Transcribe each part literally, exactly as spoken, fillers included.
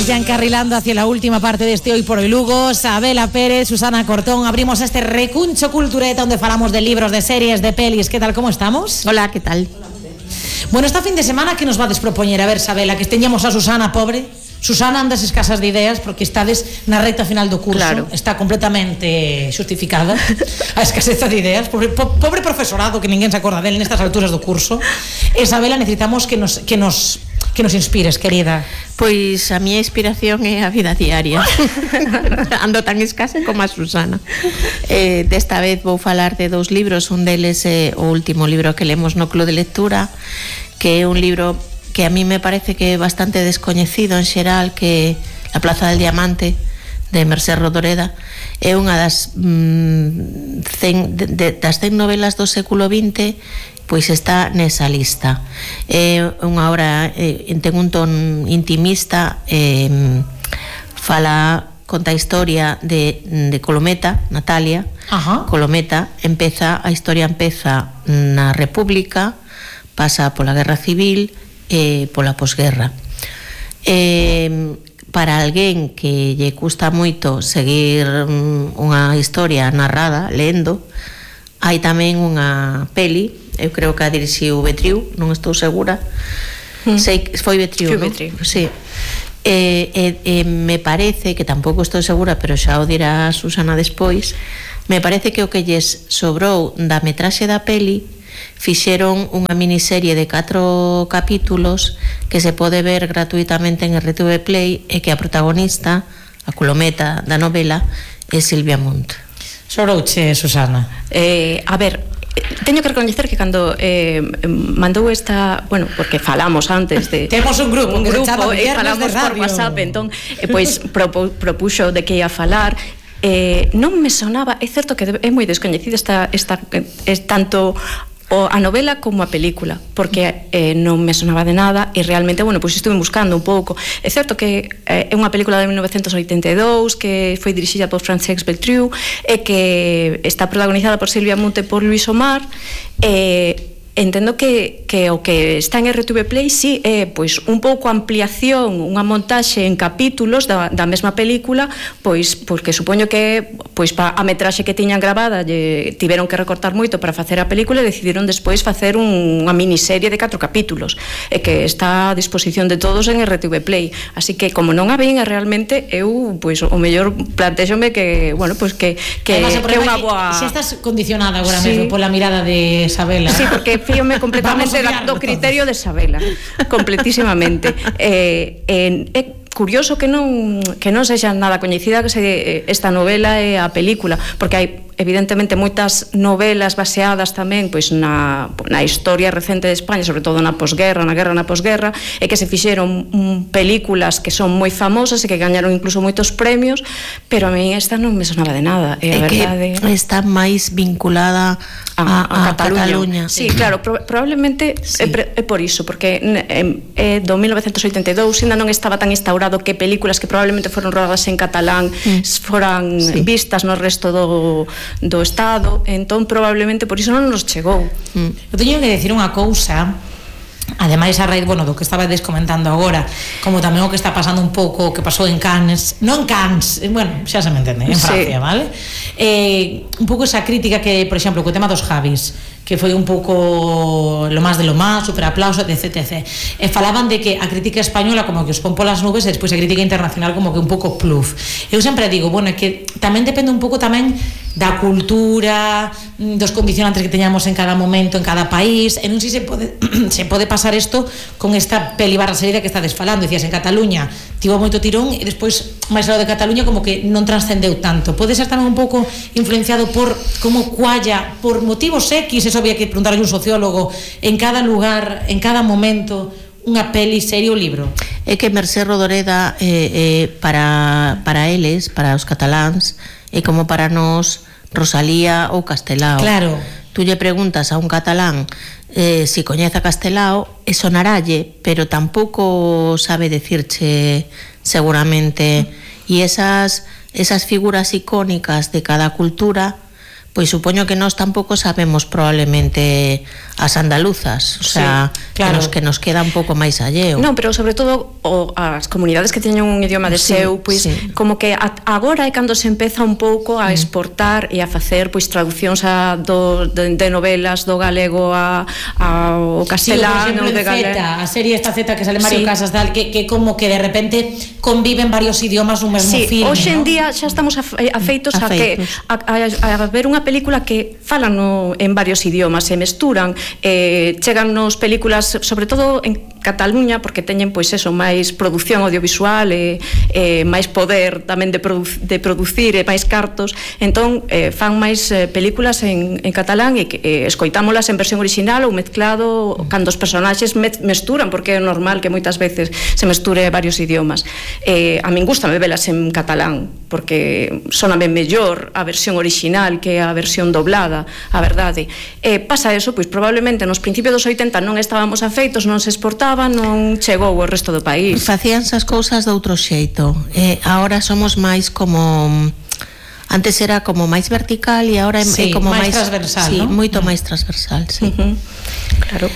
Ya encarrilando hacia la última parte de este Hoy por Hoy Lugo, Sabela Pérez, Susana Cortón, abrimos este recuncho cultureta donde falamos de libros, de series, de pelis. ¿Qué tal, cómo estamos? Hola, ¿qué tal? Bueno, esta fin de semana, ¿qué nos va a despropoñer? A ver, Sabela, que teñamos a Susana pobre. Susana andas escasas de ideas porque estades na recta final do curso, claro. Está completamente xustificada a escaseza de ideas, pobre, po, pobre profesorado que ninguén se acorda dele nestas alturas do curso. E Sabela, necesitamos que nos, que nos, que nos inspires, querida. Pois a miña inspiración é a vida diaria. Ando tan escasa como a Susana. Eh, desta vez vou falar de dous libros, un deles é o último libro que lemos no Club de Lectura, que é un libro que a mí me parece que é bastante descoñecido en xeral, que La Plaza del Diamante, de Mercé Rodoreda. É unha das mm, cen, de, de, das cen novelas do século vinte, pois está nesa lista. É unha obra, eh, ten un ton intimista, eh, fala, conta a historia de, de Colometa, Natalia. Ajá. Colometa, empeza, a historia empeza na República, pasa pola Guerra Civil e pola posguerra. Eh, para alguén que lle custa moito seguir unha historia narrada, lendo, hai tamén unha peli, eu creo que a dirixiu Betriu, non estou segura, mm. sei que foi Betriu, non? Betriu. Sí. E, e, e me parece, que tampouco estou segura, pero xa o dirá Susana despois, me parece que o que lles sobrou da metraxe da peli fixeron unha miniserie de catro capítulos que se pode ver gratuitamente en R T V Play e que a protagonista, a Colometa da novela, é Silvia Munt. Sorouche, Susana. Eh, a ver, teño que recoñecer que cando eh, mandou esta, bueno, porque falamos antes de temos un grupo, un que se grupo chama e falamos por WhatsApp, entón eh, pois propo, propuxo de que ia falar. Eh, non me sonaba, é certo que é moi descoñecida esta, esta é tanto o a novela como a película, porque eh, non me sonaba de nada e realmente, bueno, pois estuve buscando un pouco. É certo que eh, é unha película de mil novecentos oitenta e dous que foi dirixida por Francesc Beltriu e que está protagonizada por Silvia Munt e por Luis Omar. E entendo que, que o que está en R T V Play sí é pois un pouco ampliación, unha montaxe en capítulos da, da mesma película, pois porque supoño que pois pa a metraxe que tiñan gravada lle tiveron que recortar moito para facer a película e decidiron despois facer un, unha miniserie de catro capítulos e que está a disposición de todos en R T V Play. Así que como non a vin realmente eu pois o mellor plantéxome que, bueno, pois que que Además, que é unha boa. Se estás condicionada agora Sí. mesmo pola mirada de Sabela. Sí, porque fíome completamente do criterio de Sabela, completísimamente. Eh, eh, é curioso que non que non sexa nada coñecida que se esta novela e a película, porque hai evidentemente moitas novelas baseadas tamén pois na, na historia recente de España, sobre todo na posguerra, na guerra na posguerra, e que se fixeron mm, películas que son moi famosas e que gañaron incluso moitos premios, pero a mí esta non me sonaba de nada. É E a verdade que está máis vinculada a, a, a Cataluña. Cataluña. Sí, claro, pro, probablemente sí. é, é por iso, porque é do mil novecentos oitenta e dous ainda non estaba tan instaurado que películas que probablemente foron rodadas en catalán mm. foran sí. vistas no resto do do Estado, entón probablemente por iso non nos chegou. Mm. Eu teño que decir unha cousa, ademais a raíz, bueno, do que estaba descomentando agora, como tamén o que está pasando un pouco, o que pasou en Cannes, non en Cannes, bueno, xa se me entende, en Francia, sí. Vale? Eh, un pouco esa crítica que, por exemplo, co tema dos Javis, que foi un pouco lo más de lo más, super aplauso, etc, etcétera. E falaban de que a crítica española como que os pon polas nubes e despois a crítica internacional como que un pouco pluf. Eu sempre digo, bueno, é que tamén depende un pouco tamén da cultura, dos condicionantes que teñamos en cada momento, en cada país, e non sei se pode se pode pasar isto con esta peli barra serie que estades falando. Dicías, en Cataluña tivo moito tirón e despois máis algo de Cataluña como que non transcendeu tanto. Pode ser tamén un pouco influenciado por como cualla, por motivos X, eso había que preguntarle a un sociólogo, en cada lugar, en cada momento, unha peli, serie ou libro. É que Mercé Rodoreda eh, eh, para, para eles, para os cataláns, é como para nós Rosalía ou Castelao. Claro. Tú lle preguntas a un catalán eh, si coñece a Castelao e sonarálle, pero tampouco sabe decirche seguramente, e esas, esas figuras icónicas de cada cultura, pois supoño que nós tampouco sabemos probablemente as andaluzas, o sea, sí, claro, que, nos, que nos queda un pouco máis alleo. Non, pero sobre todo o, as comunidades que teñen un idioma de sí, seu, pois sí, como que a, agora é cando se empeza un pouco a exportar mm. e a facer pois traducións a, do, de, de novelas do galego a, a o castelano, sí, de galego. A serie esta Z que sale Mario sí. Casas, tal, que, que como que de repente conviven varios idiomas nun mesmo sí, filme. Hoxe en ¿no? día xa estamos afeitos a, a que a, a, a ver unha película que falan no, en varios idiomas, se mesturan, eh, chegan nos películas, sobre todo en Cataluña, porque teñen pois eso, máis produción audiovisual e eh, máis poder tamén de, produ de producir e máis cartos, entón eh, fan máis eh, películas en, en catalán e que eh, escoitámolas en versión original ou mezclado cando os personaxes me mesturan, porque é normal que moitas veces se mesture varios idiomas. Eh, a min gustame velas en catalán, porque soname mellor a versión original que a versión doblada, a verdade. Eh, pasa eso, pois probablemente nos principios dos oitenta non estábamos afeitos, non se exportaba, non chegou ao resto do país. Facíanse as cousas de outro xeito. Eh, agora somos máis como... Antes era como máis vertical e agora sí, é como máis... máis transversal, sí, ¿no? moito máis transversal, sí. Uh -huh. Claro.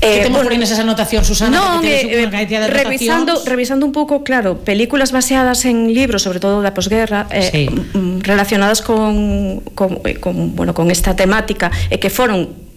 Eh, que temos bueno, por esa anotación, Susana, no, que eh, de revisando, revisando un pouco, claro, películas baseadas en libros, sobre todo da posguerra, eh, sí. relacionadas con, con, con, bueno, con esta temática, e que foron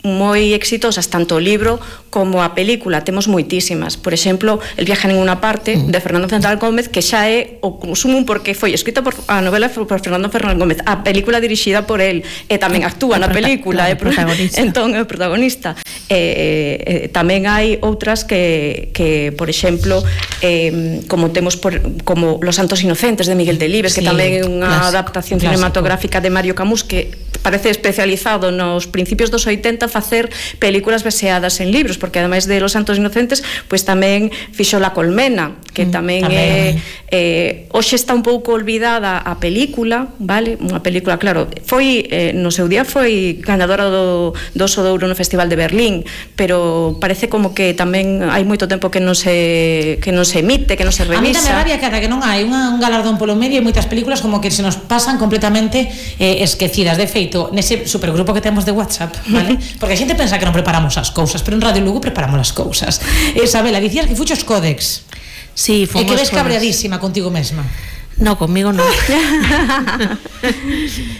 moi exitosas tanto o libro como a película. Temos moitísimas, por exemplo, El viaje a ninguna parte, de Fernando Fernández Gómez, que xa é o sumum porque foi escrita por a novela por Fernando Fernández Gómez, a película dirixida por el, e tamén actúa na película, é protagonista. Entón é o protagonista. Eh, eh, tamén hai outras que, que por exemplo, eh, como temos por, como Los Santos Inocentes de Miguel Delibes, sí, que tamén é unha clásico, adaptación clásico. cinematográfica de Mario Camus, que parece especializado nos principios dos oitenta facer películas baseadas en libros, porque ademais de Los Santos Inocentes, pois tamén fixo La Colmena, que mm, tamén, tamén é eh, hoxe está un pouco olvidada a película, vale? Unha película, claro, foi eh, no seu día foi ganadora do, do Oso de Ouro no Festival de Berlín, pero parece como que tamén hai moito tempo que non se que non se emite, que non se revisa. A mí tamén rabia cada que non hai unha, un galardón polo medio e moitas películas como que se nos pasan completamente eh, esquecidas. De feito, nese supergrupo que temos de WhatsApp, vale? Porque a xente pensa que non preparamos as cousas, pero en Radio Lugo preparamos as cousas. Isabela, dicías que fuchos Codex. Sí, fomos. E que ves cabreadísima contigo mesma. No, conmigo no.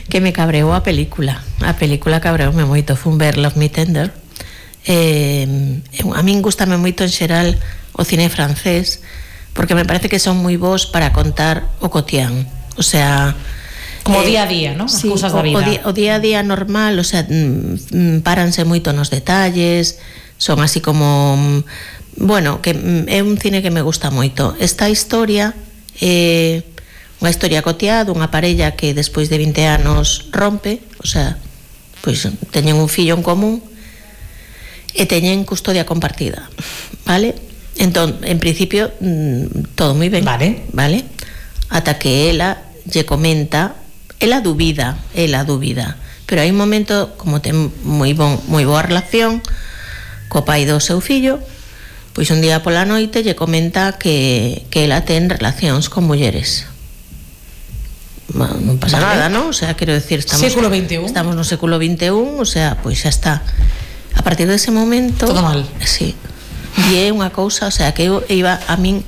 Que me cabreou a película. A película cabreoume moito. Fun ver Love Me Tender. Eh, a min gustame moito en xeral o cine francés, porque me parece que son moi bons para contar o cotián. O sea... Como o día a día, ¿no? As sí, cousas da vida. O, o, día, o día a día normal, o sea, paranse moito nos detalles, son así como... Bueno, que é un cine que me gusta moito. Esta historia é unha historia cotiá dunha parella que despois de vinte anos rompe, o sea, pois teñen un fillo en común e teñen custodia compartida, vale? Entón, en principio, todo moi ben, vale, vale? Ata que ela lle comenta, ela dubida, ela dubida, pero hai un momento, como ten moi bon, moi boa relación co pai do seu fillo, pois un día pola noite lle comenta que, que ela ten relacións con mulleres. Bueno, non pasa vale. nada, ¿no? O sea, quero decir, estamos, século vinte e un. Estamos no século vinte e un, o sea, pois xa está. A partir dese momento... Todo mal. Sí. E é unha cousa, o sea, que eu iba a min...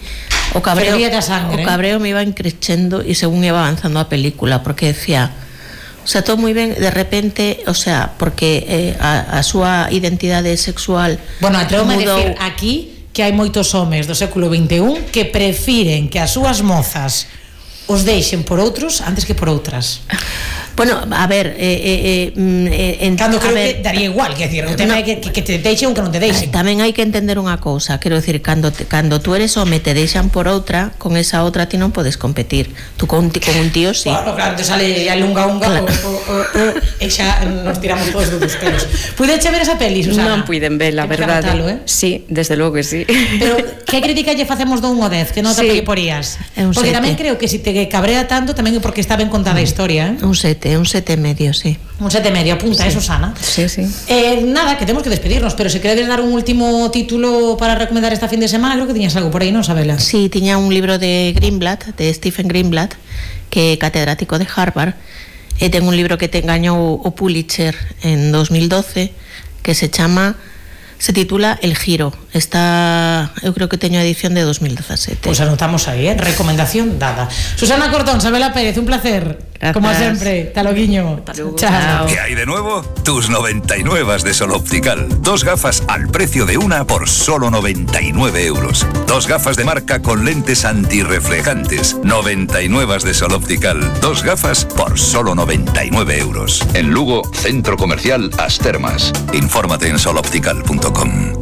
O cabreo, sangre, o cabreo me iba increchendo e según iba avanzando a película, porque decía... O sea, todo moi ben, de repente, o sea, porque eh, a, a súa identidade sexual... Bueno, atrevo-me a decir aquí que hai moitos homes do século vinte e un que prefiren que as súas mozas os deixen por outros antes que por outras. Bueno, a ver, eh, eh, eh, en, cando creo ver, que daría igual, que decir, o tema no, é que, que te deixen ou que non te deixen. Tamén hai que entender unha cousa, quero decir, cando te, cando tú eres home te deixan por outra, con esa outra ti non podes competir. Tú con, con un tío sí. Claro, claro, te sale a lunga unga claro. o, o, o, e xa nos tiramos todos dos pelos. Puideche ver esa peli, Susana? Non puiden ver, la verdade. Eh? Sí, desde logo que sí. Pero que crítica lle facemos do un ao dez? Que non te sí. porías? Porque sete. Tamén creo que se si te cabrea tanto tamén é porque está ben contada a historia, eh? Un sete. Un sete e medio, sí. Un sete e medio, apunta, sí. eh, Susana. Sí, sí. Eh, nada, que temos que despedirnos, pero se queredes dar un último título para recomendar esta fin de semana, creo que tiñas algo por aí, non, Sabela? Sí, tiña un libro de Greenblatt, de Stephen Greenblatt, que é catedrático de Harvard, e ten un libro que te engañou o Pulitzer en dos mil doce, que se chama se titula El Giro. Está, eu creo que teño a edición de dos mil dezasete. Pues anotamos aí, ¿eh? Recomendación dada. Susana Cortón, Sabela Pérez, un placer. Gracias. Como siempre. Hasta luego. Chao. ¿Qué hay de nuevo? Tus noventa y nueve de Sol Optical. Dos gafas al precio de una por solo noventa y nueve euros. Dos gafas de marca con lentes antirreflejantes. noventa y nueve de Sol Optical. Dos gafas por solo noventa y nueve euros. En Lugo, Centro Comercial As Termas. Infórmate en sol optical punto com.